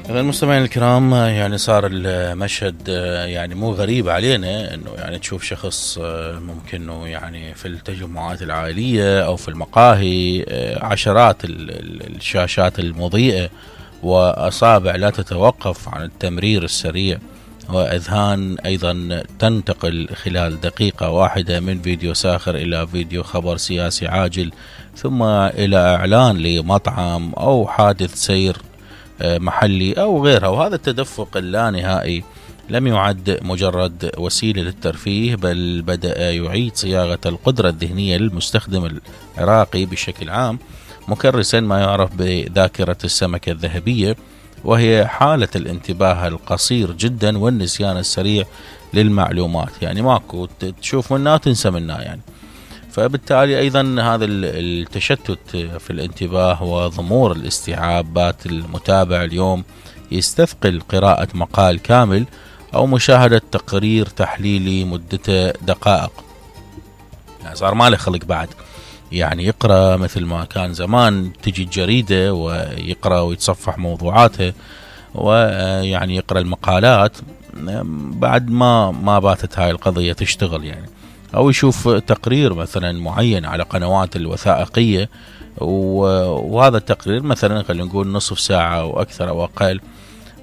إذا المستمعين الكرام، يعني صار المشهد يعني مو غريب علينا انه يعني تشوف شخص ممكن انه يعني في التجمعات العائلية او في المقاهي عشرات الشاشات المضيئة واصابع لا تتوقف عن التمرير السريع، واذهان ايضا تنتقل خلال دقيقة واحدة من فيديو ساخر الى فيديو خبر سياسي عاجل، ثم الى اعلان لمطعم او حادث سير محلي أو غيرها. وهذا التدفق اللانهائي لم يعد مجرد وسيلة للترفيه، بل بدأ يعيد صياغة القدرة الذهنية للمستخدم العراقي بشكل عام، مكرسا ما يعرف بذاكرة السمكة الذهبية، وهي حالة الانتباه القصير جدا والنسيان السريع للمعلومات. يعني ماكو تشوف منها وتنسى منها يعني. فبالتالي أيضا هذا التشتت في الانتباه وضمور الاستيعابات المتابع اليوم يستثقل قراءة مقال كامل أو مشاهدة تقرير تحليلي مدته دقائق. يعني صار ما له خلق بعد يعني يقرأ مثل ما كان زمان تجي الجريدة ويقرأ ويتصفح موضوعاته ويعني يقرأ المقالات، بعد ما باتت هاي القضية تشتغل يعني، أو يشوف تقرير مثلا معين على قنوات الوثائقية، وهذا التقرير مثلا خلينا نقول نصف ساعة أو أكثر أو أقل.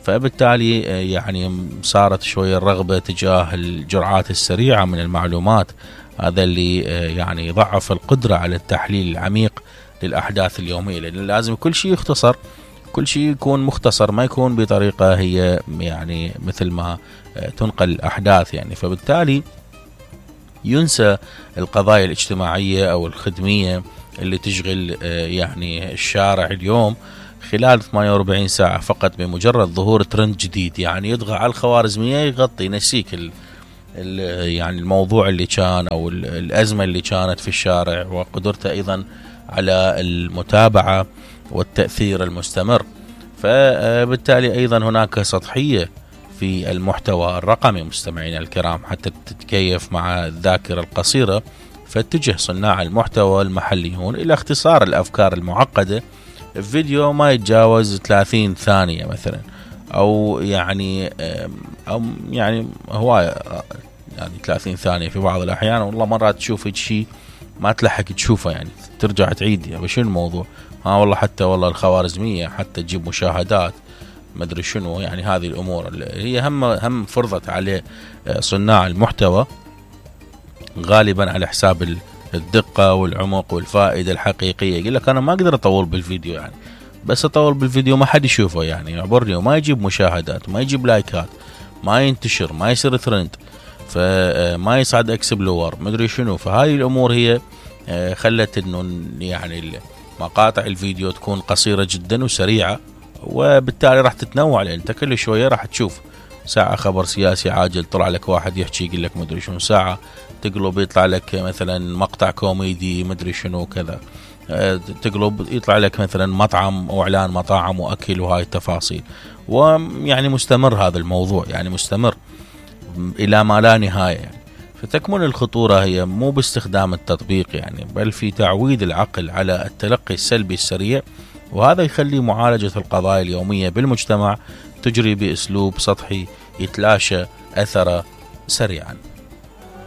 فبالتالي يعني صارت شوية الرغبة تجاه الجرعات السريعة من المعلومات، هذا اللي يعني ضعف القدرة على التحليل العميق للأحداث اليومية، لأن لازم كل شيء يختصر، كل شيء يكون مختصر، ما يكون بطريقة هي يعني مثل ما تنقل الأحداث يعني. فبالتالي ينسى القضايا الاجتماعية أو الخدمية اللي تشغل يعني الشارع اليوم خلال 48 ساعة فقط، بمجرد ظهور ترند جديد يعني يضغى على الخوارزمية يغطي ينسيك يعني الموضوع اللي كان أو الأزمة اللي كانت في الشارع، وقدرته أيضا على المتابعة والتأثير المستمر. فبالتالي أيضا هناك سطحية في المحتوى الرقمي مستمعينا الكرام حتى تتكيف مع الذاكرة القصيرة، فاتجه صناع المحتوى المحليون إلى اختصار الأفكار المعقدة. الفيديو ما يتجاوز 30 ثانية مثلا، أو يعني هواية يعني 30 ثانية في بعض الأحيان. والله مرات تشوف شيء ما تلحق تشوفه يعني ترجع تعيد يعني شنو الموضوع، والله حتى والله الخوارزمية حتى تجيب مشاهدات ما ادري شنو يعني. هذه الامور اللي هي هم فرضت عليه صناع المحتوى غالبا على حساب الدقة والعمق والفائدة الحقيقية. يقول لك انا ما اقدر اطول بالفيديو يعني، بس اطول بالفيديو ما حد يشوفه يعني يعبرني، وما يجيب مشاهدات، ما يجيب لايكات، ما ينتشر، ما يصير ترند، فما يصعد اكسبلور ما ادري شنو. فهاي الامور هي خلت انه يعني مقاطع الفيديو تكون قصيرة جدا وسريعة، وبالتالي راح تتنوع، لأن انت كل شوية راح تشوف ساعة خبر سياسي عاجل طلع لك واحد يحكي يقول لك مدري شنو، ساعة تقلب يطلع لك مثلا مقطع كوميدي مدري شنو كذا، تقلب يطلع لك مثلا مطعم او اعلان مطاعم واكل وهاي التفاصيل. ويعني مستمر هذا الموضوع يعني مستمر الى ما لا نهاية يعني. فتكمن الخطورة هي مو باستخدام التطبيق يعني، بل في تعويد العقل على التلقي السلبي السريع، وهذا يخلي معالجة القضايا اليومية بالمجتمع تجري بأسلوب سطحي يتلاشى أثره سريعا.